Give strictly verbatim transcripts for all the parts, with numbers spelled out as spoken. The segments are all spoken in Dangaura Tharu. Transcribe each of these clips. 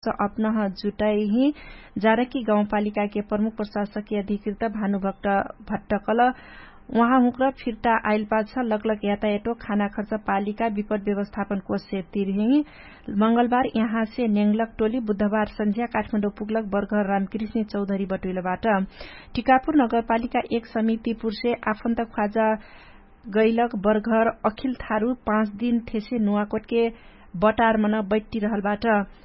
खर्च अपनह जुटाइही। जानकी गाउँपालिकाके प्रमुख प्रशासकके अधिकृत भानुभक्त भट्टकल उहाँ हुँक्र फिर्ता आइलपाछ लगलग यातायाटो खाना खर्च पालिका विपट व्यवस्थापन कोषसे तिरही। मंगलबार यहाँसे नेङ्लक टोली बुधबार सन्झ्या काठमाडौँ पुग्लक बर्घर रामकृष्णी चौधरी बटुइलबाट। टिकापुर नगरपालिका एक समितिपुरसे आफन्त ख्वाजा गैलक बर्घर अखिल थारु पाँच दिन थेसे नुवाकोटके बटारमन बैट्टिरहलबाट।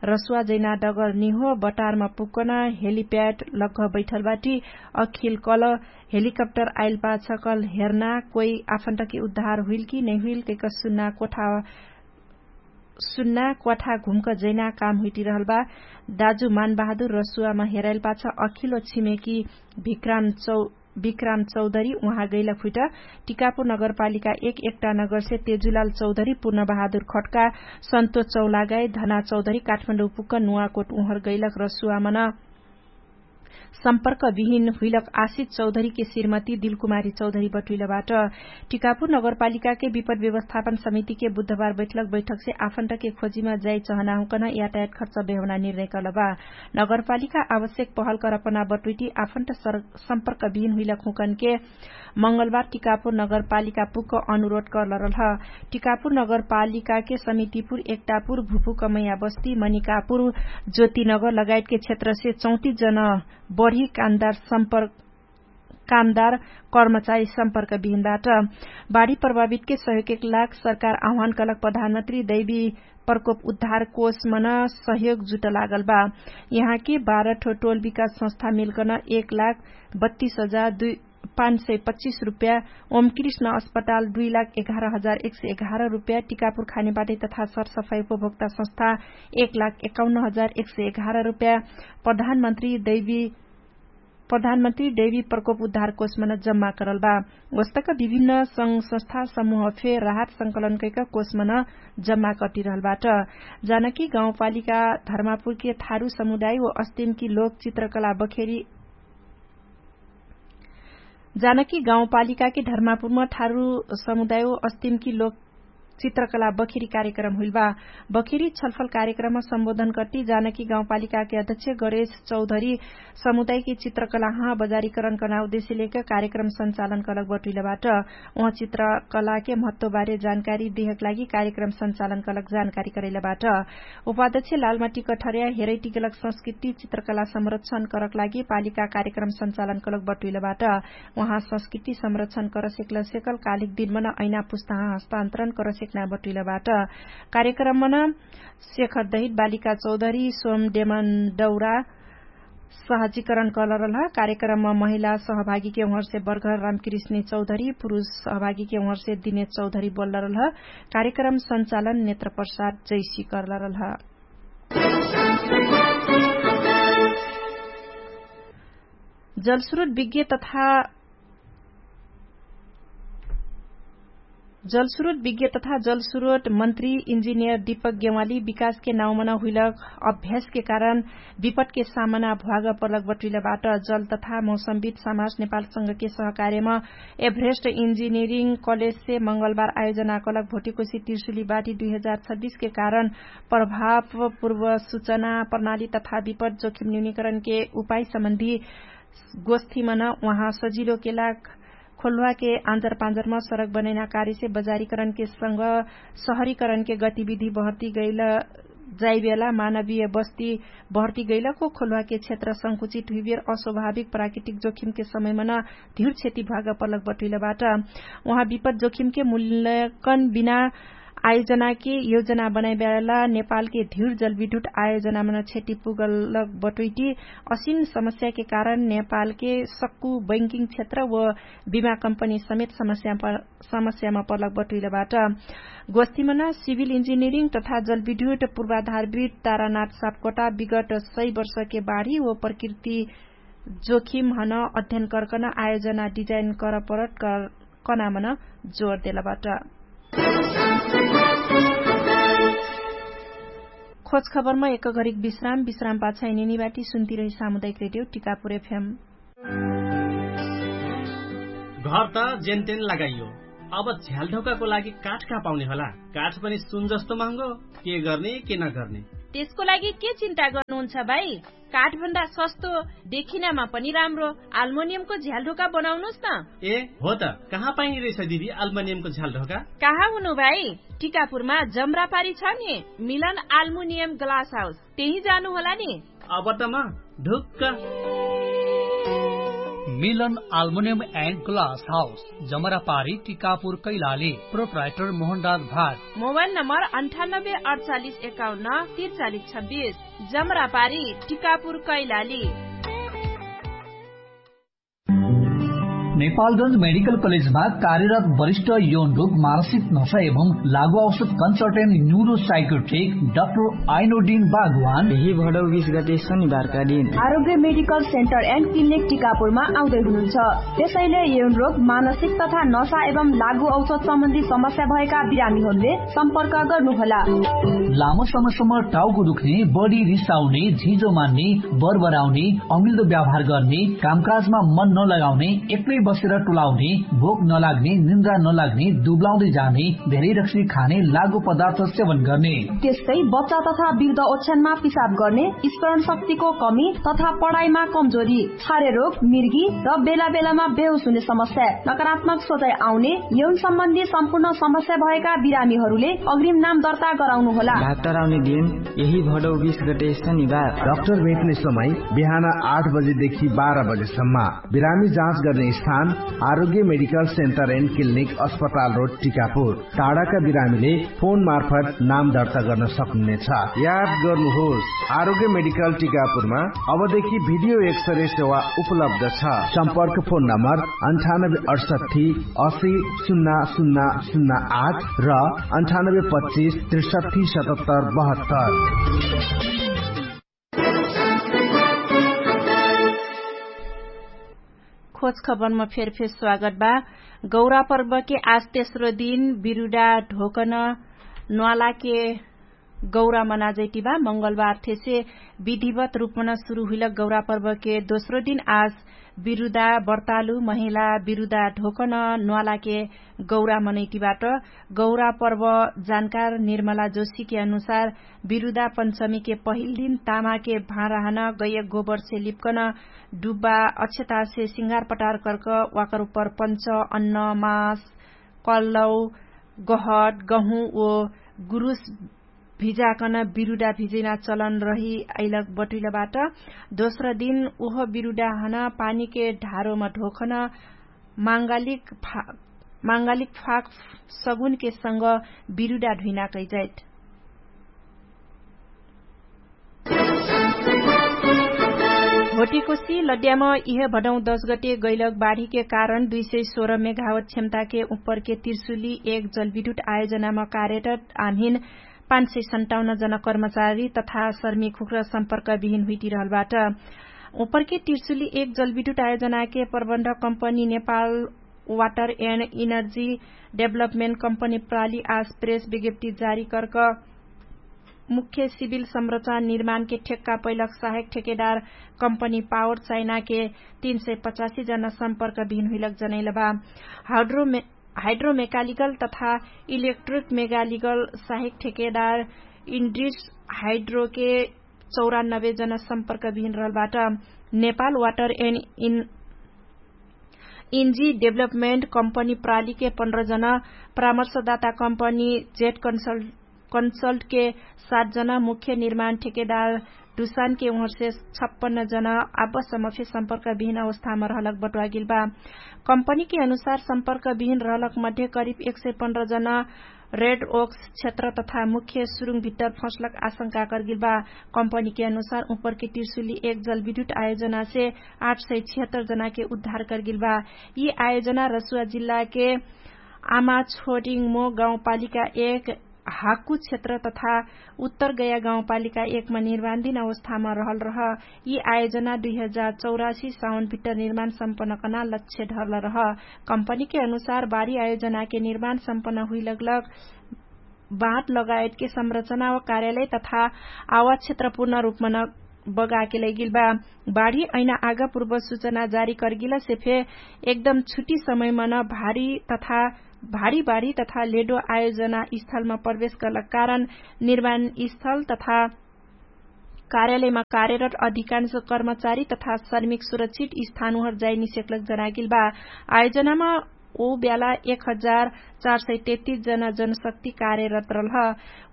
रसुवा जैना डगर निहो बटारमा पुक्कन हेलिप्याट लग्घ बैठलबाटी। अखिल कल हेलिकप्टर आइलपाछ कल हेर्ना कोइ आफन्टके उद्धार हुइलकी नैहुइल कैक सुन्ना कोठा सुन्ना क्वाठा घुम्क जैना काम हुइटिरहलबा। दाजु मानबहादुर रसुवामा हेराइलपाछ अखिलो छिमेकी विक्राम चौ विक्राम चौधरी उहाँ गैलक हुइट। टिकापुर नगरपालिका एक एकटा नगरसे तेजुलाल चौधरी पूर्णबहादुर खट्का सन्तो चौलागाई धना चौधरी काठमाडौँ पुक्क नुवाकोट उहर गैलक रसुवामन सम्पर्क विहिन हुइलक आशित चौधरीके श्रीमती दिलकुमारी चौधरी बटुइलबाट। टिकापुर नगरपालिकाके विपट व्यवस्थापन समितिके बुधबार बैठलक बैठकसे आफन्टके खोजिमा जाइ चहनाहुँकन यातायात खर्च बेहौना निर्णय कलबा। नगरपालिका आवश्यक पहल करपना बटुइटी आफन्ट सम्पर्क विहिन हुइलक हुँकनके मंगलबार टिकापुर नगरपालिका पुक्क अनुरोध कर्लरलह। टिकापुर नगरपालिकाके समितिपुर एकटापुर भुपुकमैया बस्ती मनिकापुर ज्योतिनगर लगायतके क्षेत्रसे चौतिस जन बढी कामदार सम्पर्क कामदार कर्मचारी सम्पर्क बिहिनबाट। बाढी प्रभावितके सहयोग एक लाख सरकार आह्वान कलक प्रधानमन्त्री दैवी प्रकोप उद्धार कोषमन सहयोग जुट लागलबा। यहाँके बाह्र ठो टोल विकास संस्था मिलकन एक लाख बत्तीस हजार पाँच सय पच्चिस रुप्या, ओमकृष्ण अस्पताल दुई लाख एघार हजार एक सय एघार रुप्या, टिकापुर खानेपाटी तथा सरसफाई उपभोक्ता संस्था एक लाख एकाउन्न हजार एक सय एघार रुप्या प्रधानमन्त्री दैवी प्रधानमन्त्री दैवी प्रकोप उद्धार कोषमन जम्मा करलबा। ओस्तक विभिन्न संघ संस्था समूह फे राहत संकलन कैक कोषमन जम्मा कटिरहलबाट। जानकी गाउँपालिका धर्मापुरके थारु समुदाय व अस्तिमकी लोक चित्रकला बखेरी जानकी गाउँपालिकाके धर्मापुरम थारु समुदाय व अस्तिमकी लोक चित्रकला बखेरी कार्यक्रम हुइलबा। बखेरी छलफल कार्यक्रम सम्बोधन कट्टी जानकी गाउँपालिकाके अध्यक्ष गरेश चौधरी समुदायके चित्रकला हाँ बजारीकरण कर्ना उद्देश्य लेक कार्यक्रम सञ्चालन कलक बटुइलबाट। उहाँ चित्रकलाके महत्वबारे जानकारी देहक लागि कार्यक्रम सञ्चालन कलक जानकारी करैलबाट। उपाध्यक्ष लालमाटी कठर्या हेरैटिकलक संस्कृति चित्रकला संरक्षण करक लागि पालिका कार्यक्रम सञ्चालन कलक बटुइलबाट। उहाँ संस्कृति संरक्षण करसेकल सेकल कालिक दिनमन ऐना पुस्ताहाँ हस्तान्तरण करसेकना बटुइलबाट। कार्यक्रममन शेखर दहित बालिका चौधरी सोम डेमन डौरा सहजीकरण कलरलह। कार्यक्रमम महिला सहभागीके उहरसे बर्घर रामकृष्णी चौधरी पुरुष सहभागीके उहरसे दिने चौधरी बोल्लरलह। कार्यक्रम सञ्चालन नेत्र प्रसाद जैसी करलरलह। जलस्रोत विज्ञ तथा जलस्रोत विज्ञ तथा जलस्रोत मन्त्री इन्जिनियर दीपक गेवाली विकासके नाउँमन हुइलक अभ्यासके कारण विपटके सामना भ्वाग पर्लक बटुइलबाट। जल तथा मौसमविद समाज नेपाल संघके सहकार्यम एभरेस्ट इन्जिनियरिङ कलेजसे मंगलबार आयोजना कलक भोटिकोशी तिर्सुली बाटी दुई हजार छब्बिसके कारण प्रभाव पूर्व सुचना प्रणाली तथा विपट जोखिम न्यूनीकरणके उपाय सम्बन्धी गोष्ठीमन उहाँ सजिलोके लाग खोल्वाके आन्जर पान्जरम सरक बनैना कार्यसे बजारीकरणके संग सहरीकरणके गतिविधि बहर्ती गैल जाइबेला मानवीय बस्ती बहर्ती गैलको खोल्वाके क्षेत्र संकुचित हुइबेर अस्वाभाविक प्राकृतिक जोखिमके समयमन धिउर क्षति भ्वाग पर्लक बटुइलबाट। उहाँ विपत जोखिमके मूल्यकन बिना आयोजनाके योजना बनाइबेला नेपालके धिउर जलविद्युत आयोजनामन क्षति पुगलक बटुइटी असिन समस्याके कारण नेपालके सक्कु बैंकिङ क्षेत्र व बिमा कम्पनी समेत समस्याम पर्लक बटुइलबाट। गोष्ठीमन सिभिल इन्जिनियरिङ तथा जलविद्युत पूर्वाधारविद तारानाथ सापकोटा विगत सय वर्षके बाढी व प्रकृति जोखिमहन अध्ययन कर्कन आयोजना डिजाइन करपरत कनामन जोर देलबाट। खोज खबरमा एक घरिक विश्राम विश्राम पाछाइ निनिबाटी सुन्तिरही सामुदायिक रेडियो टिकापुर एफएम। घर त जेनतेन लगाइयो, अब झ्यालढोकाको लागि काठ कहाँ पाउने होला? काठ पनि सुन जस्तो महँगो। के गर्ने के नगर्ने? त्यसको लागि के चिन्ता गर्नुहुन्छ भाइ? काठभन्दा सस्तो, देखिनामा पनि राम्रो। आल्मोनियमको झ्यालढोका बनाउनुस् न। ए हो त, कहाँ पाइने रहेछ दिदी आल्मोनियमको झ्यालढोका? कहाँ हुनु भाइ? टिकापुरमा जम्रापारी छ नि, मिलन आल्मोनियम ग्लास हाउस, त्यही जानु होला नि। अब त म ढुक्क। मिलन आल्मोनियम एन्ड ग्लास हाउस, जमरापारी, टिकापुर, कैलाली। प्रोप्राइटर मोहनराज भाट। मोबाइल नम्बर अन्ठानब्बे अडचालिस एकाउन्न त्रिचालिस छब्बिस, जमरापारी, टिकापुर, कैलाली। नेपालगञ्ज मेडिकल कलेजमा कार्यरत वरिष्ठ यौन रोग, मानसिक नशा एवं लागु औषध कन्सल्टेन्ट न्युरो साइकोट्रिक डाक्टर आइनोडिन बागवान यही भडौ बिस गते शनिबारका दिन आरोग्य मेडिकल सेन्टर एन्ड क्लिनिक टिकापुरमा आउँदै हुनुहुन्छ। त्यसैले यौन रोग, मानसिक तथा नशा एवं लागु औषध सम्बन्धी समस्या भएका बिरामीहरूले सम्पर्क गर्नुहोला। लामो समयसम्म टाउको दुख्ने, बढी रिसाउने, झिजो मान्ने, बरबराउने, अमिल्दो व्यवहार गर्ने, कामकाजमा मन नलगाउने, एक्लै बसेर टोलाउने, भोक नलाग्ने, निन्द्रा नलाग्ने, दुब्लाउँदै जाने, धेरै रक्सी खाने, लागु पदार्थ सेवन गर्ने, त्यस्तै बच्चा तथा वृद्ध ओछ्यानमा पिसाब गर्ने, स्मरण शक्तिको कमी तथा पढाइमा कमजोरी, छारे रोग, मिर्गी र बेला बेलामा बेहोस हुने समस्या, नकारात्मक सोचाइ आउने, यौन सम्बन्धी सम्पूर्ण समस्या भएका बिरामीहरूले अग्रिम नाम दर्ता गराउनुहोला। डाक्टर आउने दिन यही भडौ बिस गते शनिबार। डाक्टर भेट्ने समय बिहान आठ बजेदेखि बाह्र बजेसम्म। बिरामी जाँच गर्ने स्थान आरोग्य मेडिकल सेन्टर एन्ड क्लिनिक, अस्पताल रोड, टिकापुर। टाढाका बिरामीले फोन मार्फत नाम दर्ता गर्न सक्नुहुनेछ। याद गर्नुहोस्, आरोग्य मेडिकल टिकापुरमा अबदेखि भिडियो एक्सरे सेवा उपलब्ध छ। सम्पर्क फोन नम्बर अन्ठानब्बे अठसट्ठी असी सुन्ना सुन्ना सुन्ना आठ र अन्ठानब्बे पच्चिस त्रिसट्ठी सतहत्तर बहत्तर। खोज खबरमा फेरफेर स्वागत बा। गौरा पर्वके आज तेस्रो दिन बिरुडा ढोकन न्वालाके गौरा मनाजैतिबा। मंगलबार थेसे विधिवत रूपमन सुरु हुइलक गौरा पर्वके दोस्रो दिन आज बिरुदा बर्तालु महिला बिरुदा ढोकन न्वालाके गौरा मनैतिबाट। गौरा पर्व जानकार निर्मला जोशीके अनुसार बिरुदा पञ्चमीके पहिल दिन तामाके भाँडाहन गैयक गोबरसे लिपकन डुब्बा अक्षतासे सिंगार पटार कर्क वाकर उपर पञ्च अन्न मास कल्लौ गहट गहुँ ओ गुरुस भिजाकन बिरुडा भिजैना चलन रहि अइलक बटुइलबाट। दोस्र दिन ओह बिरुडाहन पानीके ढारोम ढोखन माङ्गालिक फाक सगुनके संग बिरुडा ढुइना कैजैत। होटिकोसी लड्याम इहे भडौँ दश गटे गैलक बाढीके कारण दुई सय सोह्र मेघावत क्षमताके उपरके तिर्सुली एक जलविद्युत आयोजनाम कार्यरत आम्हिन पाँच सय सन्ताउन्न जन कर्मचारी तथा सर्मी खुक्र सम्पर्क बिहिन हुइटिरहलबाट। उपरके तिर्सुली एक जलविद्युत आयोजनाके प्रबन्ध company Nepal water and energy development company प्राली आज प्रेस विज्ञप्ति जारी कर्क मुख्य सिभिल संरचना निर्माणके ठेक्का पैलक सहायक ठेकेदार कम्पनी पावर चाइनाके तीन सय पचासी जना सम्पर्क बिहिन हुइलक जनैलबा। हाइड्रोमेकालिकल तथा इलेक्ट्रिक मेगालिकल सहायक ठेकेदार इन्ड्रिस हाइड्रोके चौरानब्बे जना सम्पर्क बिहिन रहलबाट। नेपाल वाटर एन्ड इन्जी डेभलपमेन्ट कम्पनी प्रालीके पन्ध्र जना परामर्शदाता कम्पनी जेट कन्सल्टके सात जना मुख्य निर्माण ठेकेदार डुसानके उहर्से छप्पन्न जना आबसम्म फे सम्पर्क बिहिन अवस्थामा रहलक बटुवागिलबा। कम्पनीके अनुसार सम्पर्क बिहिन रहलक मध्ये करिब एक सय पन्ध्र जना रेड ओक्स क्षेत्र तथा मुख्य सुरुङ भित्तर फसलक आशंका कर्गिलबा। कम्पनीके अनुसार उपरके तिर्सुली एक जलविद्युत आयोजनासे आठ सय छिहत्तर जनाके उद्धार कर्गिलबा। यि आयोजना रसुवा जिल्लाके आमा छोडिङमो गाउँपालिका एक हाकु क्षेत्र तथा उत्तर गया गाउँपालिका एकमा निर्माणदिन अवस्थामा रहल रह। यि आयोजना दुई हजार चौरासी साउन भित्तर निर्माण सम्पन्न कना लक्ष्य ढर्ल रह। कम्पनीके अनुसार बाढी आयोजनाके निर्माण सम्पन्न हुइलगलग बाँट लगायतके संरचना व कार्यालय तथा आवाज क्षेत्रपूर्ण रूपमा न बगाके लैगिलबा। बाढी ऐना आगा पूर्व सूचना जारी कर्गिलसे फे एकदम छुट्टी समयमा न भारी तथा भारी बाढी तथा लेडो आयोजना स्थलमा प्रवेश गर्लक कारण निर्माण स्थल तथा कार्यालयमा कार्यरत अधिकांश कर्मचारी तथा श्रमिक सुरक्षित स्थान उहर जाइनिसेक्लक जनागेल बा। आयोजनामा ओ ब्याला एक हजार चार सय तेत्तिस जना जनशक्ति कार्यरत रहल ह।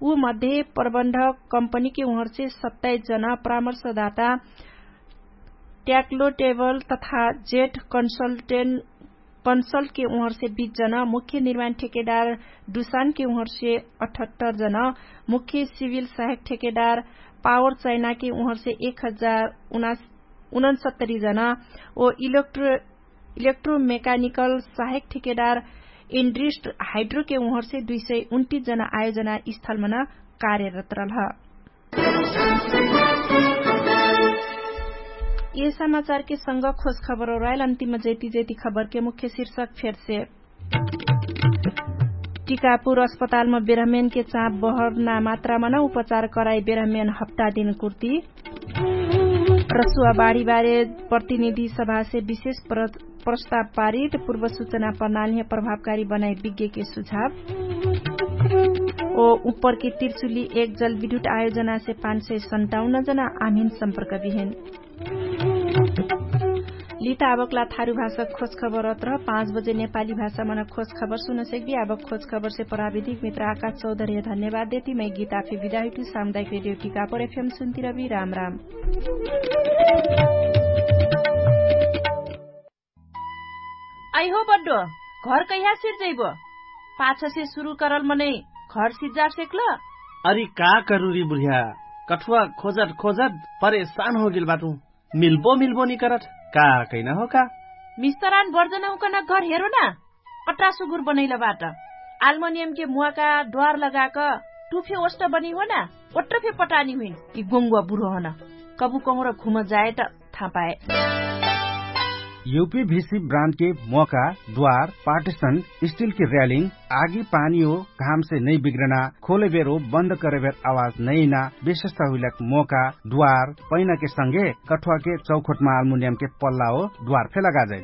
उ मध्ये प्रबन्धक कम्पनीके उहरसे सत्ताइस जना परामर्शदाता ट्याक्लोटेबल तथा जेट कन्सल्टेन्ट कन्सल्टके उहरसे बीस जना, मुख्य निर्माण ठेकेदार डुसानके उहरसे अठहत्तर जना, मुख्य सिभिल सहायक ठेकेदार पावर चाइनाके उहरसे एक हजार उनसत्तरी जना, ओ इलेक्ट्रोमेकानिकल सहायक ठेकेदार इन्ड्रिस्ट हाइड्रोके उहरसे दुई सय उन्तिस जना आयोजना स्थलमन कार्यरत रहल ह। यह समाचारके संग खोज खबर ओराइल अन्तिम जैती जैती खबरके मुख्य शीर्षक फेरसे। टिकापुर अस्पतालम बेरहमेनके चाप बहरना मात्रामन उपचार कराइ बेरहमेन हप्ता दिन कुर्ती। रसुवा बाढीबारे प्रतिनिधि सभासे विशेष प्रस्ताव पारित पूर्व सुचना प्रणालीह प्रभावकारी बनाइ विज्ञके सुझाव। ओ उपरके तिर्सुली एक जलविद्युत आयोजनासे पाँच सय सन्ताउन्न जना आमिन सम्पर्क बिहेन। लिता अबकला थारु भाषा खोज खबर अत्र पाँच बजे नेपाली भाषा मन खोज खबर सुनसेक बि। अबक खोज खबरसे प्राविधिक मित्र आकाश चौधर्य धन्यवाद देती मै गीता फि बिदाहिटु सामुदायिक रेडियो टिकापर एफएम सुन्तिरबि राम राम। अइहो बड्डो, घर कैहा सिर्जैबो? पाछसे सुरु करल मनै घर सिर्जा सेक्ल? अरि का करुरी बुढिया, कठुवा खोजट खोजट परेशान होगेल बाटु। मिल्बो मिल्बो निकरट का कैना हो का? मिस्तरान बर्जन हुकन घर हेरो ना। पट्रा सुगुर बनैल बाट। आल्मनियमके मुवाका द्वार लगाक टुफे ओष्ट बनी हो ना। ओट्रफे पटानी हुइन कि गोङ्गुवा बुढो हन। कबु कहुँर घुम जायट थापाए। युपी भिसी ब्रान्डके मोका द्वार पार्टिसन स्टिलके र्यालिङ आगी पानीओ घामसे नै बिग्रना खोलेबेरो बन्द करेबेर आवाज नैना विशेषता हुइलक मोका द्वार पैनाके संगे कठुवाके चौखोटमा आल्मुनियमके पल्लाओ द्वार फेला गाजै।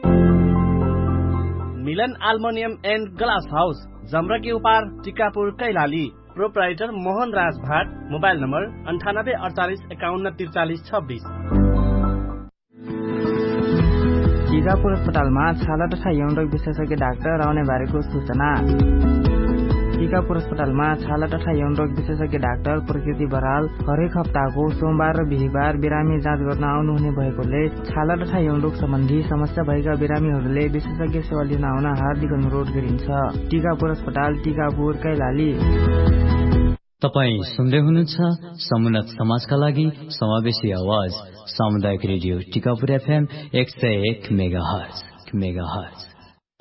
मिलन आल्मुनियम एन्ड ग्लास हाउस जम्रकी उपार टिकापुर कैलाली। प्रोप्राइटर मोहन राज भाट। मोबाइल नम्बर अन्ठानब्बे अडचालिस एकाउन्न तिर्चालिस छब्बिस। टिकापुर अस्पतालमा छाला तथा यौनरोग विशेषज्ञ डाक्टर आउने बारेको सुचना। टिकापुर अस्पतालमा छाला तथा यौनरोग विशेषज्ञ डाक्टर प्रकृति बराल हरेक हप्ताको सोमबार र बिहिबार बिरामी जाँच गर्न आउनुहुने भएकोले छाला तथा यौनरोग सम्बन्धी समस्या भएका बिरामीहरूले विशेषज्ञ सेवा लिन आउन हार्दिक अनुरोध गरिन्छ। टिकापुर अस्पताल, टिकापुर, कैलाली। तपाईं सुन्दै हुनुहुन्छ समुन्नत समाजका लागि समावेशी आवाज सामुदायिक रेडियो टिकापुर एफएम एक सय एक मेगाहर्ज।